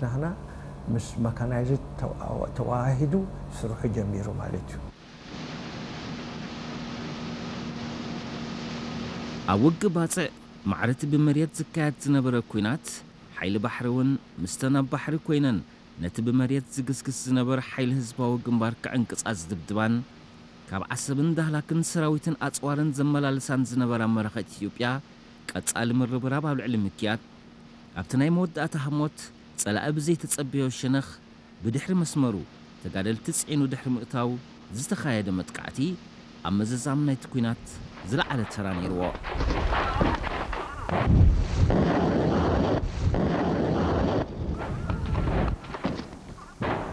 ናህና ምስ መካናይዝድ ተዋ- ተዋሃሂዱ ስርሑ ጀሚሩ ማለት እዩ። ኣብ ውግእ ባጽዕ ማዕረቲ ብመሬት ዝካየድ ዝነበረ ኲናት፣ ሓይሊ ባሕሪ እውን ምስተን ኣብ ባሕሪ ኮይነን ነቲ ብመሬት ዝግስግስ ዝነበረ ሓይሊ ህዝባዊ ግንባር ክዕንቅጻ ዝድብድባን ካብ ዓሰብን ዳህላክን ሰራዊትን ኣጽዋርን ዘመላልሳን ዝነበራ መራኸት ኢትዮጵያ ቀጻሊ ምርብራብ ኣብ ልዕሊ ምክያድ ኣብቲ ናይ መወዳእታ ህሞት ጸላኢ ብዘይተጸበዮ ሸነኽ ብድሕሪ መስመሩ ተጋደልቲ ጽዒኑ ድሕሪ ምእታው ዝተኻየደ መጥቃዕቲ ኣብ መዘዛም ናይቲ ኲናት ዝለዓለ ተራ ነይርዎ።